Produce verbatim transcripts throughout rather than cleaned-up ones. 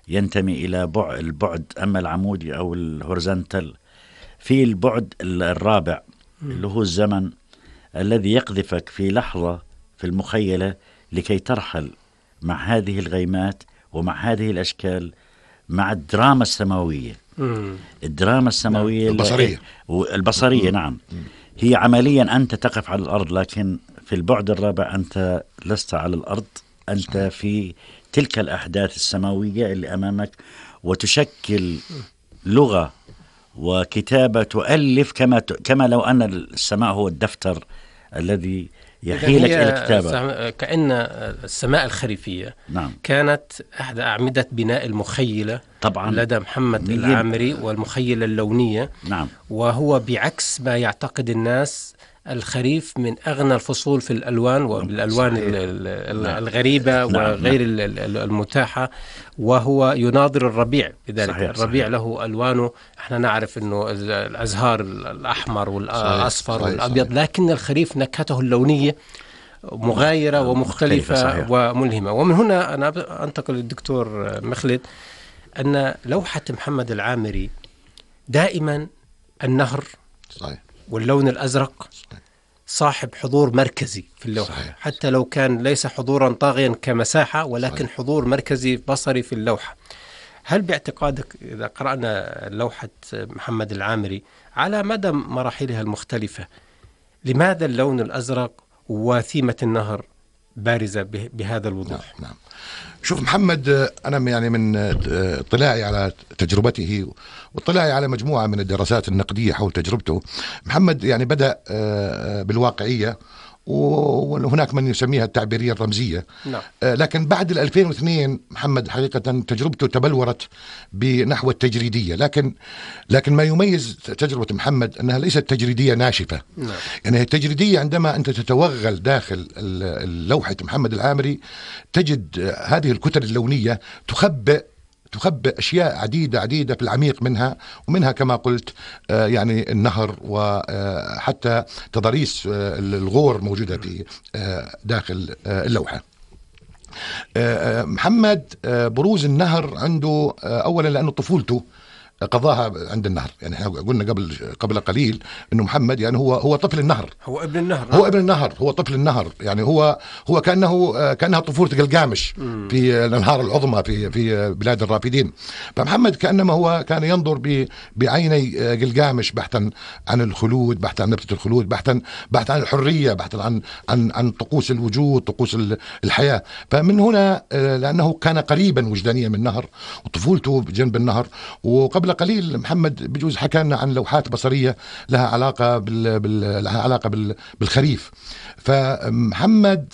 ينتمي إلى بعد البعد أما العمودي أو الهورزنتال. في البعد الرابع اللي هو الزمن الذي يقذفك في لحظة في المخيلة لكي ترحل مع هذه الغيمات ومع هذه الأشكال مع الدراما السماوية. مم. الدراما السماوية البصرية البصرية نعم. هي عمليا أنت تقف على الأرض، لكن في البعد الرابع أنت لست على الأرض، أنت في تلك الأحداث السماوية اللي أمامك، وتشكل لغة وكتابة تؤلف كما كما لو أن السماء هو الدفتر الذي يحيلك إلى الكتابة. كأن السماء الخريفية نعم. كانت أحد أعمدة بناء المخيلة طبعا لدى محمد العامري والمخيلة اللونية. نعم. وهو بعكس ما يعتقد الناس الخريف من أغنى الفصول في الألوان وبالألوان الغريبة وغير المتاحة، وهو يناظر الربيع بذلك. صحيح. الربيع صحيح. له ألوانه، احنا نعرف أنه الأزهار الأحمر والأصفر صحيح. والأبيض صحيح. لكن الخريف نكهته اللونية مغايرة ومختلفة صحيح. وملهمة. ومن هنا أنا أنتقل للدكتور مخلد أن لوحة محمد العامري دائما النهر صحيح. واللون الأزرق صاحب حضور مركزي في اللوحة صحيح. حتى لو كان ليس حضورا طاغيا كمساحة، ولكن صحيح. حضور مركزي بصري في اللوحة. هل باعتقادك إذا قرأنا لوحة محمد العامري على مدى مراحلها المختلفة، لماذا اللون الأزرق وثيمة النهر بارزة بهذا الوضوح؟ نعم. شوف محمد، أنا يعني من اطلاعي على تجربته واطلاعي على مجموعة من الدراسات النقدية حول تجربته، محمد يعني بدأ بالواقعية، وهناك من يسميها التعبيرية الرمزية. نعم. لكن بعد الألفين واثنين محمد حقيقة تجربته تبلورت بنحو التجريدية، لكن لكن ما يميز تجربة محمد أنها ليست تجريدية ناشفة. نعم. يعني التجريدية عندما أنت تتوغل داخل لوحة محمد العامري تجد هذه الكتل اللونية تخبئ تخبئ أشياء عديدة عديدة في العميق منها، ومنها كما قلت يعني النهر، وحتى تضاريس الغور موجودة في داخل اللوحة. محمد بروز النهر عنده أولا لأنه طفولته قضاها عند النهر. يعني احنا قلنا قبل قبل قليل انه محمد يعني هو هو طفل النهر، هو ابن النهر هو ابن النهر هو طفل النهر. يعني هو هو كانه كانها طفوله قلقامش في الانهار العظمى في في بلاد الرافدين. فمحمد كانما هو كان ينظر بعيني قلقامش بحثا عن الخلود، بحثا عن نبته الخلود، بحثا بحثا عن الحريه، بحثا عن عن عن طقوس الوجود، طقوس الحياه. فمن هنا لانه كان قريبا وجدانيا من النهر وطفولته بجنب النهر. وقبل قليل محمد بجوز حكى لنا عن لوحات بصرية لها علاقة بال... بال... لها علاقة بال... بالخريف. فمحمد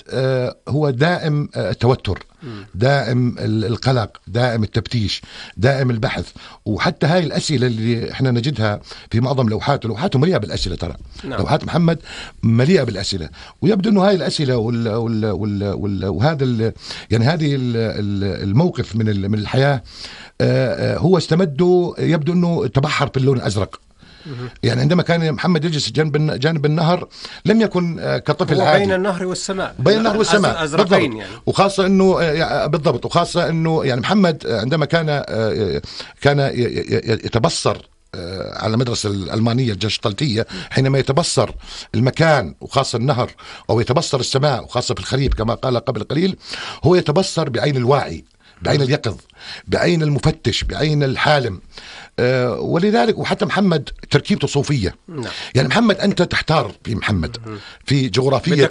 هو دائم التوتر، دائم القلق، دائم التفتيش، دائم البحث. وحتى هاي الأسئلة اللي احنا نجدها في معظم لوحاته، لوحاته مليئة بالأسئلة ترى. نعم. لوحات محمد مليئة بالأسئلة، ويبدو أنه هاي الأسئلة وال... وال... وال... وال... وهذا ال... يعني هذه الموقف من ال... من الحياة هو استمده، يبدو أنه تبحر في اللون الأزرق. يعني عندما كان محمد يجلس جانب جانب النهر لم يكن كطفل عادي، بين النهر والسماء، بين النهر والسماء بالضبط. يعني. وخاصة انه بالضبط وخاصة انه يعني محمد عندما كان كان يتبصر على المدرسة الألمانية الجشطلتية، حينما يتبصر المكان وخاصة النهر، أو يتبصر السماء وخاصة في الخريف كما قال قبل قليل، هو يتبصر بعين الواعي، بعين اليقظ، بعين المفتش، بعين الحالم. أه ولذلك وحتى محمد تركيبته صوفية. نعم. يعني محمد أنت تحتار في محمد في جغرافية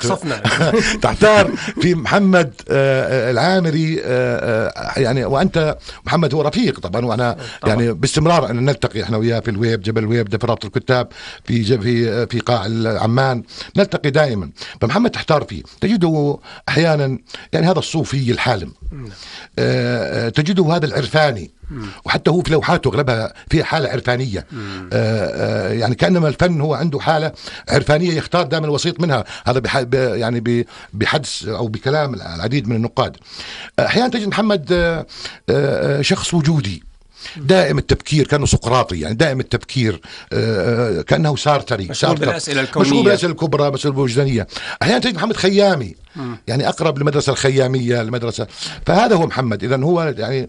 تحتار في محمد أه العامري أه يعني وأنت محمد هو رفيق طبعا، وأنا طبعا. يعني باستمرار أن نلتقي إحنا وياه في الويب، جبل الويب ده في رابطة الكتاب في في في قاع عمان، نلتقي دائما. فمحمد تحتار فيه، تجده أحيانا يعني هذا الصوفي الحالم، أه تجده هذا العرفاني، وحتى هو في لوحاته أغلبها فيها حالة عرفانية. آآ آآ يعني كأنما الفن هو عنده حالة عرفانية يختار دائما الوسيط منها. هذا يعني بحدث أو بكلام العديد من النقاد. أحيانا تجد محمد آآ آآ شخص وجودي دائم التفكير، كأنه سقراطي، يعني دائم التفكير، كأنه سارتري، مشغول بالأسئلة الكونية، مشغول بالأسئلة الكبرى، مسألة الوجدانية. أحيانا تجد محمد خيامي، يعني أقرب للمدرسة الخيامية المدرسة. فهذا هو محمد. إذن هو يعني